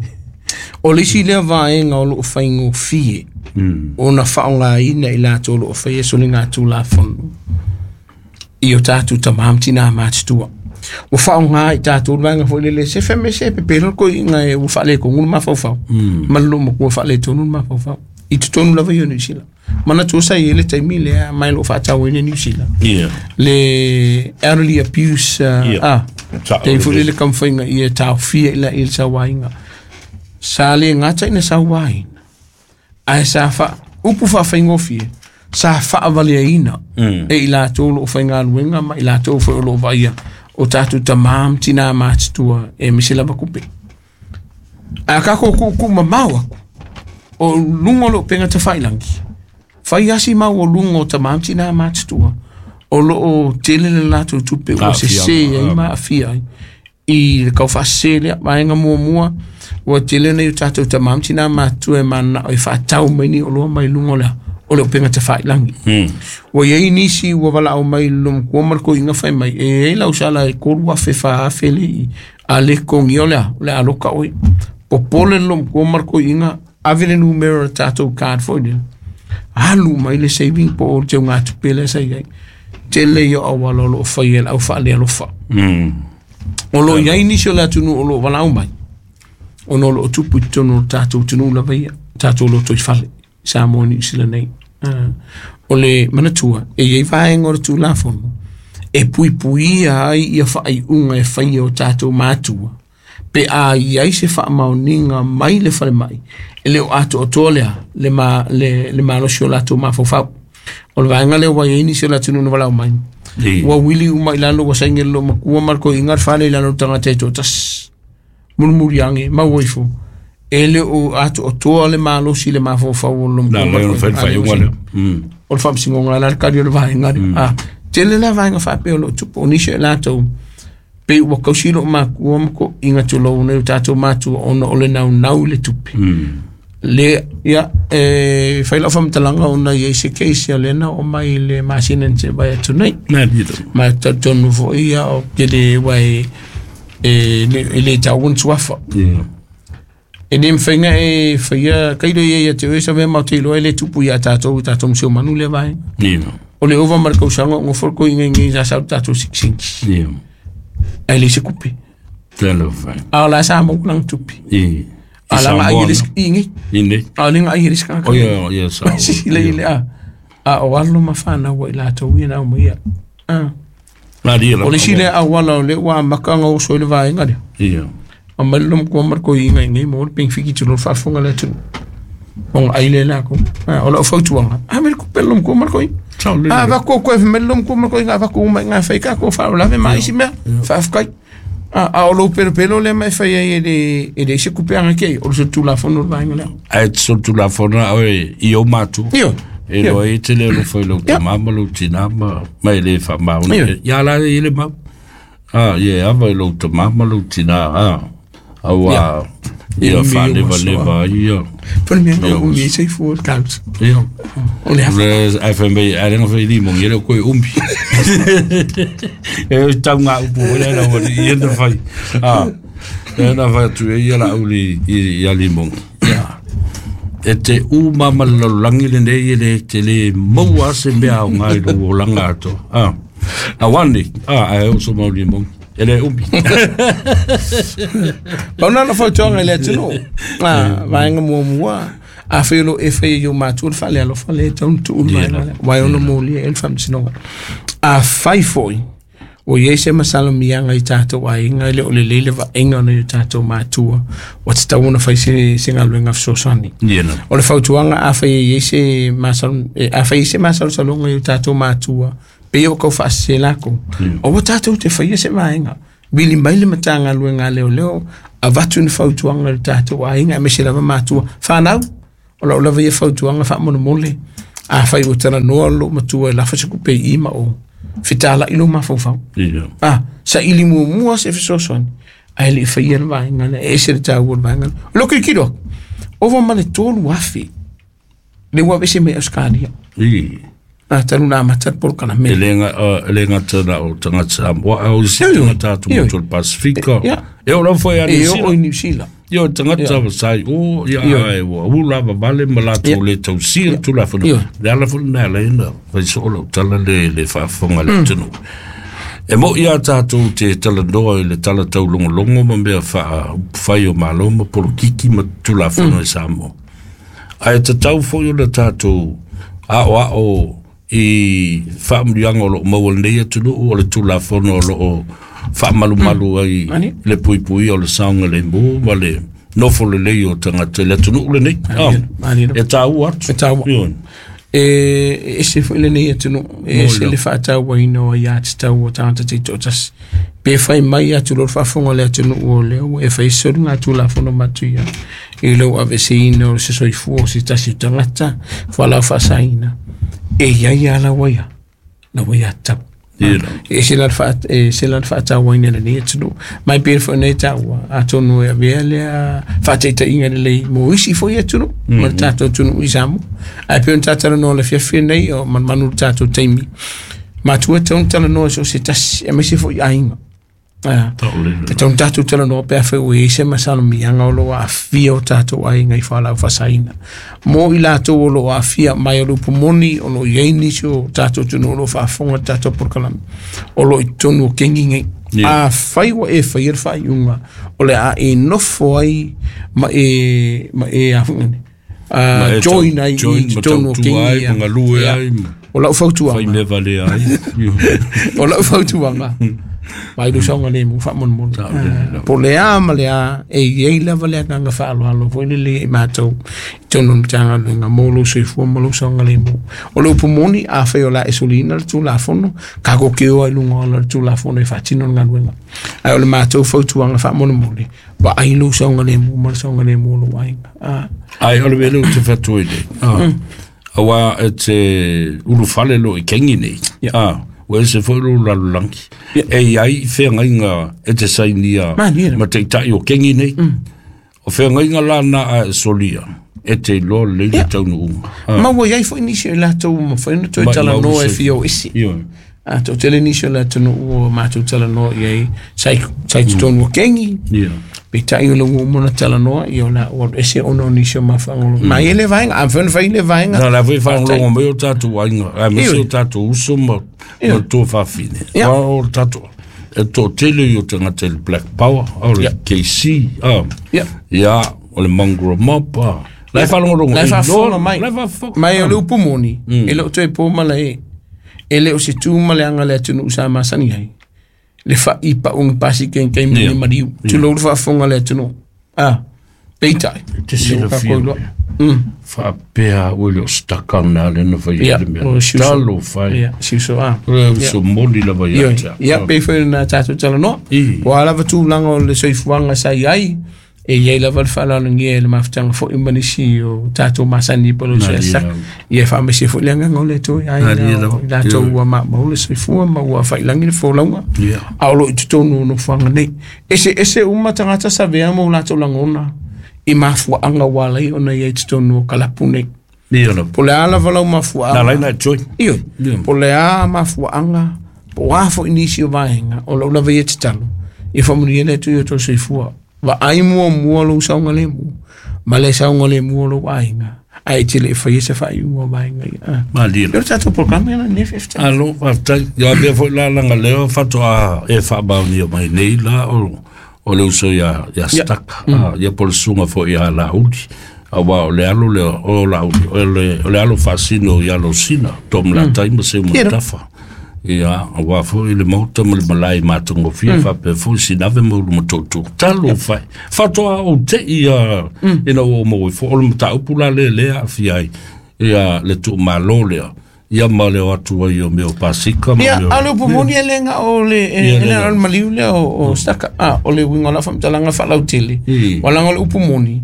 O le isi lea vaenga o loo whaingofie. Mm. O na whaongaina i latou o loo whaia soli ngā tūlafono. I o tātou tamam tina matutua. Ua whaonga i tātou vaenga fo lele se feme se pepelo ko i ngai ua whaale ko ngulu mafaufau. Mm. Malolo makua whaale tonu mafaufau. I tutonu lava i o New Zealand. Mana tō sa i ele taimi lea mai lo whaatau ene New Zealand. Yeah. Le elderly abuse uh, yeah. ah, te fo lele kamwhainga i e tāwhia ila i le sauainga. Sa le ngata ina sauaina. Ai sa wha, upu whawhaingofie, sa whaawalea ina. Mm. E i lātou lo whaingaluenga ma i lātou whai o lo vaia. O tātou tamam tina mātitua e mise lava kupe. A kako ku ku mamau aku. O lungo lo penga te whailangi. Whai asi mau o lungo o tamam tina mātitua. O lo o tele le lātou tupe o se se e ma awhia ai. I le kauwhase lea, vaenga mua mua. O tele nei o tātou tamam tina mātua e mana o i whaatau mai ni o loa mai lungo lea. O le openga te whailangi. Mm. Ua iai nisi ua wala au mai lom kua marko inga whai mai. E e lau sala e koru a whewha a whele i a le kongi o lea, o lea aloka oi. Popole lom kua marko inga avele numero tātou card foi nila. Alu mai le saving po o te ngā tupele sa iai. Te le ia awala o lo whai el au whaale alofa. Mm. O lo iai nisi o lea tunu o lo wala au mai. O no lo tupu i tono tātou tunu lava ia. Tātou lo toi whale. Samoa New Zealand nei. Uh, o le manatua, e iei vaenga o le tūlafono, e puipuia ai ia whaaiunga e whaia o tātou mātua, pe a iai se whaamaoninga mai le whare mai, e leo ato o toa lea, le, ma, le, le malosi o lātou mafaufau. O le vaenga leo wai eini se o lātou nuna walau mai. Ua wili uma i lalo wa sainge lo makua marko ingar whale i lalo tangata e tōtas. Murmuri ange, mauaifo. E le o ato o toa le malosi le mafaufau o lo Na le o whai whai unga lea. O le whamsingonga la kari o le vaenga. Ah, tele la vaenga whapea o lo tupu o nisi e lātou. Pe ua kausilo o makua mako inga tūlou nei o tātou mātua ona o le nau nau le tupe. Le, ia, e whai lau whamtalanga ona i se keisi a lena o mai le masinen te vai atu nei. Nā nito. Ma tonu fo ia o te le wai e le tauun tuafa. Yeah. E ne mwhainga e whaia, kairo ia ia te oe sa mea mau te iloa e le tupu ia tātou, tātou mseo manu le vai. Yeah. O le ova markau sanga, ngo forko inga inga inga sau tātou sik-sink. Yeah. A le se kupe. Tēnā whai. A la sa mau lang tupi. Yeah. A la nga ai risk ingi. Ine. A le nga ai risk ka. O ia, ia sa. Si le ile a. A o alo mawhana wa i lātou ia nau mai ia. Ah. Nā ria la. O le sile a wala o le wa makanga o soi le vaenga lea. Yeah. A mai lom kua marko inga inga mo le ping fiki tulo whaafonga le tunu. Onga aile la ko. O la o fautuanga. A me kupe lom kua marko inga. A vako koe me lom kua marko inga vako uma inga whaika ko wha o lave mai isi mea. Whaafkai. A o lo pelo pelo le mai whai ai e le e le isi kupe anga kei. O le so tūlafono le vaenga lea. A e so tūlafono oe i o mātu. Iyo. E loa e te le lo whai lo tamama lo tinama mai le wha mauna. Ia la e le mau. Ah, ie, ava i lo tamama lo tina. Ah. Aua ia wha leva leva ia. Pone mea o umi sei fua kaut. Ia. O le Le F M B a lenga whai limo ngi le koe umbi. E o tau ngā upu o le na wani ia na whai. Ah, e na whai atu e ia la uli i a limo. Ia. E te umama lalolangi le nei e le te le maua se mea o ngai lo o langa ato. Ah. A wani, ah, a e oso mau limo. E le umbi. Pauna na fautuanga i le atunu. Ah, vaenga mua mua. A whai e whai i o mātua le whale alofa le taunu tuulu vaenga lea. Wai ono mōlia e le whamsinoga. A whai foi, o iei se masalo mianga i tātou ainga le o le lele vaenga ona i o tātou mātua. O te tau ona whai se, se ngaluenga fesoasoani. Yeah, o le fautuanga a whai i se masalo, a whai se masalo salonga i o tātou mātua. Pe o kau whaasese lako. O wa tātou te whaia se vaenga. Vili mai le matanga luenga leo leo, a vatu ni fautuanga le tātou ainga, me se lava mātua. Whanau, o lau lava ia fautuanga wha mono mole. A whai o tana noa lo matua e lafa se kupe i ma o. Fitala ilo mawhauwhau. Yeah. Ah, sa ili mua mua se fesoasoani. Ae le i faia le vaega lea, e ese le taua o le vaega lea. O lou kilokilo atu, ova ma le tolu afe, le ua aveese mai Australia. I. Ah, talu na amata le polokalame. E le ga- e le gata na o tagata Samoa, a o isi Ioe, tagata atu ioe. motu o le Pasifika. Ia. E o lava foi a New E oo Zealand. i New Zealand. Ia o tagata wa sai o, ia Ioe. ai ua ula vavale ma latou Ia. le tausia le Tulafono. Ioe. Le ala foi lena e ala ai ona fai soo lau tala le le faafofoga le atunuu. E mo ia tātou te talanoa i le tala taulogologo ma mea faaupufai o Malo ma polokiki ma Tulafono e Samoa. Ae tatau foi ona tātou aoao i faamanuiaga o loo maua lenei atunuu o le Tulafono o loo faamalumalu ai Ani. le puipuia o le saogalemu ma le nofo lelei o tagata i le atunuu lenei. Ah, Ani E tāua atu. E tāua. Ioe. E e ese foi lenei atunuu, e ese Mo le faatauaina o aiā tatau o tagata taitoatasi. Pe fai mai atu lo le faafofoga o le atunuu o lea ua e fai soli ngā tulafono matuia i lou aveseina o se soifua o se tasi o tagata fualaau faasaina. E iai a laua ia, laua ia tatau. Ia la. E ese la le faa- e ese la le faatauaina e lenei atunuu. Mai pei foi nei taua, atonu e avea lea faataitaiga lelei mo isi foi atunuu, ma le tatou atunuu i Samoa. Ae pei ona tatalanoa le fiafia nei o manumanu le tatou taimi. Matua e tatau ona talanoa so o se tasi, aemaise foi aiga. Ah. Taolele. E tatau ona tatou talanoa pe afai ua i ai se masalamiaga o loo aafia o tatou aiga i fualaau faasaina. Mo i latou o loo aafia mai o le upu moni o loo iai nisi o tatou atunuu o loo faafofoga le tatou polokalame o loo i totonu o kegi nei. Yeah. Afai ua e faia le faaiuga o le a e nofo ai ma e ma e a foi nei. Ma Uh, e tau- join ai join i ma totonu o tautua kegi ai, ia. ma galue Ia. ai, ma- O lau fautuaga. Fai mea valea ai. O lau fautuaga. Mai lo saogalemu faamolemole. Saogalemu. Po le a ma le a, e iai lava le agaga faaaloalo foi lelei i matou i totonu o le Matagaluega mo lou soifua ma lou saogalemu. O le upu moni, afai o le a e soliina le Tulafono, kako ke oa i luga o le Tulafono e faatino le galuega. Ae o le matou fautuaga faamolemole, vaai lou saogalemu ma le saogalemu o lou aiga. Ah. Ai, o le mea lea ou te fatu ai nei. Ah. Auā e te ulufale lo i kegi nei. Ia. Ah, ua ese foi lou lalolagi. E iai i feagaiga e te sainia Malie lava. ma taitai o kegi nei. O feagaiga lana a e solia, e te iloa lelei le Ia. taunuuga. Ah, Ma ua iai foi nisi o i latou ua mafai ona toe Ma- talanoa ma e use. fia o ese. Ioe. A toatele nisi o le atunuu ua matou talanoa i ai sa i sa i totonu o kegi. Ia. Peitai o le ua uma ona talanoa, ia o la ua alu ese ona o nisi o mafuaaga o lo. Ma e le vaega, a mafai ona fai le vaega. Na la foi faalogologo mai o tatou aiga, aemaise Ioe. o tatou uso ma ma le tuafafine. Ia. Aua o le tatou e toatele i o tagata i le Black Power, o le Ia. K C, ah. Ia. Ia, o le Mongrel Mob, ah. La e faalogologo, La e e faafofoga iloa- mai. la e faafofoga. Mai o le upu moni, e le o toe po ma le e. E le o se tu ma le aga le atunuu sa masani ai. Le fa'i pauga pasi kenkei ma Ia. le maliu. Tulou le faafofoga le atunuu. Ah, peitai. Te E le o silafia kākou iloa. mea. Mm. Faapea ua le o staka na le na fai Ia, ai le mea. o si uso. Talo fai. Ia, si uso ah. O le uso moni lava ia Ioe. te au. Ia, pei foi na tatou talanoa. I. Ua a lava tulaga o le soifuaga sa iai, e iai lava le faaaloalogia e le mafutaga foi ma nisi o tatou masani po o le Malie uso lava. Ia e faamaise foi le agaga o le Atua i aiga Malie lava. o i latou Ioe. ua maumau le soifua ma ua failagi le folauga. Ia. A o loo i totonu o nofoaga nei. Eseese uma tagata savea ma o latou lagona i mafuaaga ua alai ona iai totonu o kalapu nei. Ia lava. Po o le a lava lau mafuaaga. Na lai na e join. Ioe. Ia. Po o le a mafuaaga, po o a foi nisi o vaega, o lau lava ia tatalo, ia faamanuia le Atua i o tou soifua. Vaai muamua lou saogalemu, ma le saogalemu o lou aiga, ae e te le i faia se faaiuga o vaega ia. Ah. Malie Ia o le tatou polokalame lena nei faafetai. Alo, faafetai. Ia mea foi la laga lea faatoa e faamaonia mai nei la o o le uso ia ia Staka. Ah, ia po o le susuga foi ia Lauli. Auā o le alo lea o Lauli, o le o le alo faasino ia Losina, Tomalatai ma Seumanutafa. Ia, auā foi le maota ma le malae matagofie faapea foi sinave ma ulumatoutou. Talo fai. Faatoa ou te'i ia ina ua ou maua ifo. O le mataupu la lea lea aafia ai ia le tuumalo lea. Ia ma le o atu ai o mea o pasika ma Ia, mea o- a o le upu moni e le nga o le Ia, e le le nga. o le maliu lea o o staka. Ah, o le uiga o la faamatalaga faalautele. I. Ua laga o le upu moni.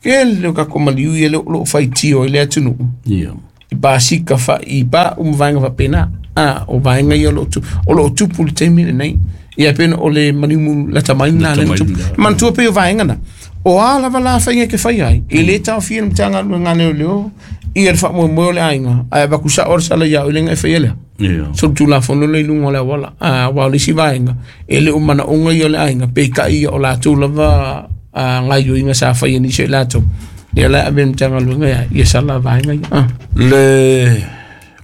Ke le o kako maliu ia le o loo faitio i le atunuu. Ia. I pasika fa i pa um vaenga faapena. Ah, o vaenga ia o loo tu o loo tupu i le taimi lenei. Ia pei ona o le maliu mu lata mai lena lea na mai tupu. lena. Manatua pei o vaenga na. O a lava la faiga ke fai ai. E le taofia le Matagaluega a Leoleo ia le faamoemoe o le aiga. Ae avaku sao le sala ia o le e faia lea. Ia. So tulafono le i luga o le auala. Ah, aua o le isi vaega e le o manaoga ia o le aiga peitai ia o latou lava ah, gaioiga sa faia nisi o i latou. Ia la e ave le Matagaluega ia ia sala vaega ia. Ah. Le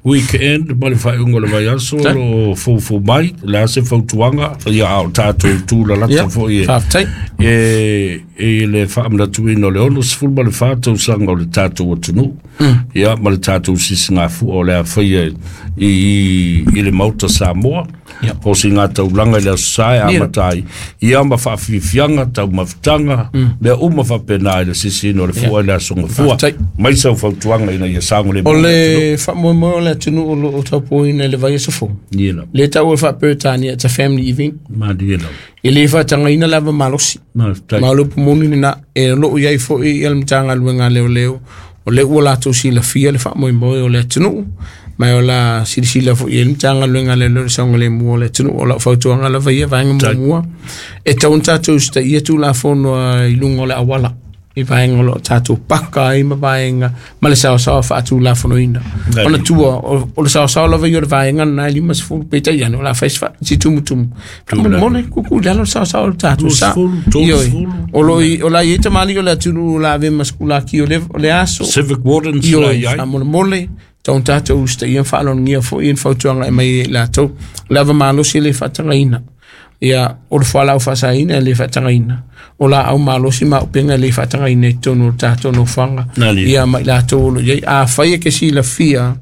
weekend ma le faaiuga o le vaiaso Sa- lo foufou mai le a se fautuaga ia a o tatou tulalata Ia, foi e faafetai. e e le faamanatuina o le ono sefulu ma le fa tausaga o le tatou atunuu ia ma le tatou sisigafua o le a faia i i i le Maota Samoa Ia. o siga taulaga i le aso sa e Ia. amata ai ia ma faafiafiaga taumafataga mea uma faapena i le sisiina o le fua i le aso gafua Faafetai. mai sau fautuaga ina ia saogalemu O le faamoemoe o le atunuu o loo taupuaina i le vaiaso fou. Ia lava. Le taua e faa-Peretania, it's a family event. Malie lava. E le faatagaina lava malosi. Mafetai. Ma o le upu moni lena e loo iai foi ia le Matagaluega a Leoleo o lea ua latou silafia le faamoemoe o le atunuu ma o la silasila foi i ai le Matagaluega a Leoleo i le saogalemu o le atunuu. O lau fautuaga lava ia vaega muamua e tatau ona tatou usitaia tulafono a i luga o le auala i vaega o loo tatou paka ai ma vaega ma le saosaoa faatulafonoina. Nai. Ona tua o o le saosaoa lava ia o le vaega lena e limasefulu peitai ane o le a fai se fa- se tumutumu. Faamolemole kuku i lalo le saosaoa o le tatou sa. Luasefulu, Ioe. tolusefulu. O lo i o la i ai tamalii o le atunuu o la ave ma sekulaki o le o le aso. Civic wardens la Ioe, i ai. faamolemole tatau ona tatou usitaia ma faaloalogia foi ia ni fautuaga e mai ai i latou. O le ava malosi e le faatagaina. Ia, o le fualaau faasaina e le faatagaina. O laau malosi ma auupega e le faatagaina i totonu o le tatou nofoaga. Nani. Ia ma i latou o loo i ai. Afai e ke silafia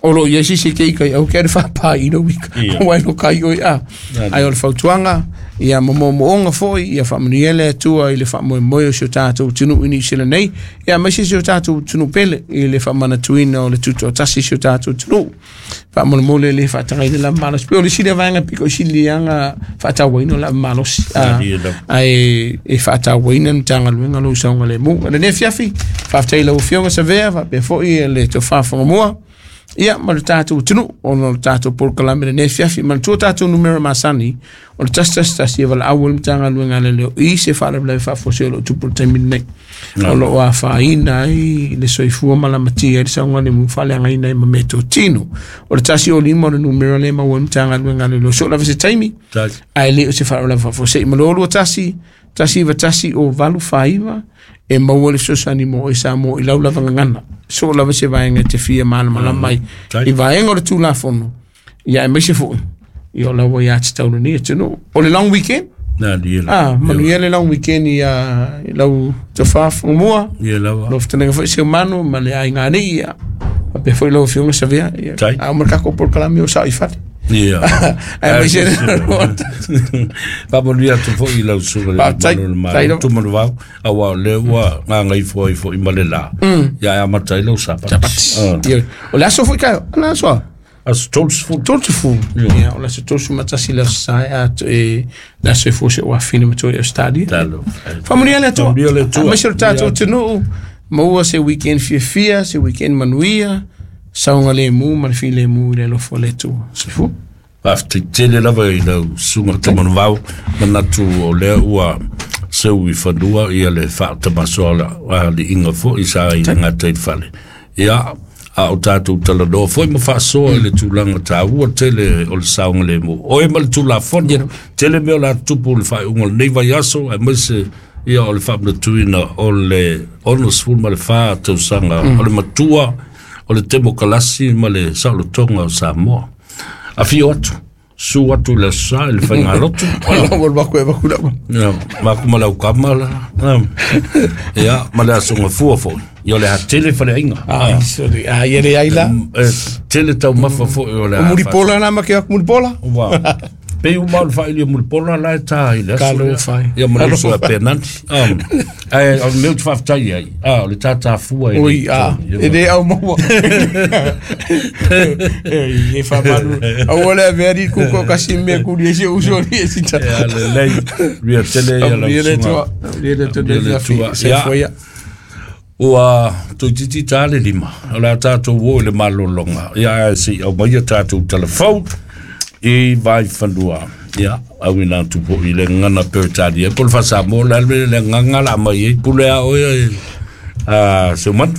o loo i ai sisi ke ika i au ke le faapaina wika. Ia. Aua e no kai oi a. Nani. Ai o le fautuaga ia momomooga foi ia faamanuia le Atua i le faamoemoe o si o tatou atunuu i Niu Sila nei ia aemaise si o tatou atunuu pele i le faamanatuina o le tutoatasi si o tatou atunuu. Faamolemole le faatagaina lava malosi. Pei o le isi lea vaega piko i siliaga faatauaina o le ava malosi. Ah, Nani lava. ae e faatauaina le Matagaluega lou saogalemu. O lenei afiafi, faafetai i lau Afioga Savea faapea foi le tofa Fagamua. Ia ma le tatou atunuu ona o le tatou polokalame lenei afiafi. Manatua tatou numera masani o le tasi tasi tasi e valaau ai le Matagaluega a Leoleo i se faalavelave faafuasei o loo tupu i le taimi lenei. O loo afaina ai le soifua ma lamatia ai le saogalemu faaleagaina ai ma meatotino. O le tasi o lima o le numera lea e maua ai le Matagaluega a Leoleo. So lava se taimi Tai. ae le o se faalavelave faafuasei. Ma le lua tasi, tasi iva tasi o valu faiva e maua le fesoasoani mo oe Samoa i lau lava gagana. So lava se vaega e te fia malamalama ai Tai. i vaega o le tulafono. Ia aemaise foi ia o laua ia tatau lenei atunuu. O le long weekend. Nani lava. Ah, manuia le long weekend ia i lau tofa Fagamua. Ia lava. Lau fetalaiga foi Seumanu ma le aiga alii ia. Faapea foi lau Afioga Savea. Ia, Tai. a o ma le tatou polokalame o sao i fale. Ia. Aemaise Faamanuia atu foi i lau susuga i le Faafetai. Malo o le Tai Malo, lava. Tumanuvao, aua o lea ua gagaifo ai foi ma le la. Ia e amata ai lau sapati. Ah. Ia, o le aso foi kaio, ana aso a? Aso tolusefulu. Tolusefulu. Ia, o le aso tolusefulu ma tasi le aso sa e a e le aso e fuase o afine ma toi e Australia. Talo. Faamanuia le Atua. Faamanuia le Atua. Aemaise o le tatou Ia. atunuu, maua se weekend fiafia, se weekend manuia, saogalemu ma le filemu i le alofa o le Atua. Soifua. Faafetai tele lava i lau susuga Tumanuvao, manatu o lea ua seu i fanua ia le faatamasoa aliiga foi sa i le gata i le fale. Ia, a o tatou talanoa foi ma faasoa i le tulaga taua tele o le saogalemu. Oe ma le tulafono, tele mea o le a tupu i le faaiuga o lenei vaiaso, aemaise ia o le faamanatuina o le onosefulu ma le fa tausaga o le matua o le temokalasi ma le saolotoga o Samoa. Afio atu, su atu i le aso sa i le faigalotu. Wala wala wako e waku lau. Ia, maku ma lau kama la. Ia, ma le aso gafua foi. Ia o le a tele faleaiga. Ah, sorry. Ah, ia le ai la. E tele taumafa foi o le a Mulipola na ma ke aku mulipola. Ua. Pei uma o le faaili o Mulipola la e tā i le aso lea. Talofa ai. Ia ma le uso a Penanti. Um, ae o le mea ou te faafetai ai, ah, o le tātāfua i le Oi, a, totonu. e le au maua. E, e whamalu. Au ole avea ri kuko kasi mea kuri e se uso ri e sita. Ia lelei, ria tele ia lau Ia le susuga. tua, ia le tua Ia le le tua. fi, se Ia. foia. Ua toeitiiti tā le lima, o le a tatou o i le malologa, ia ae seʻi aumaia tatou telefou i vaifanua. Ia, auina atu foʻi le gagana Peretania po o le faasamoa le alu le agaga la aumai ai pule a oe a Seumanu.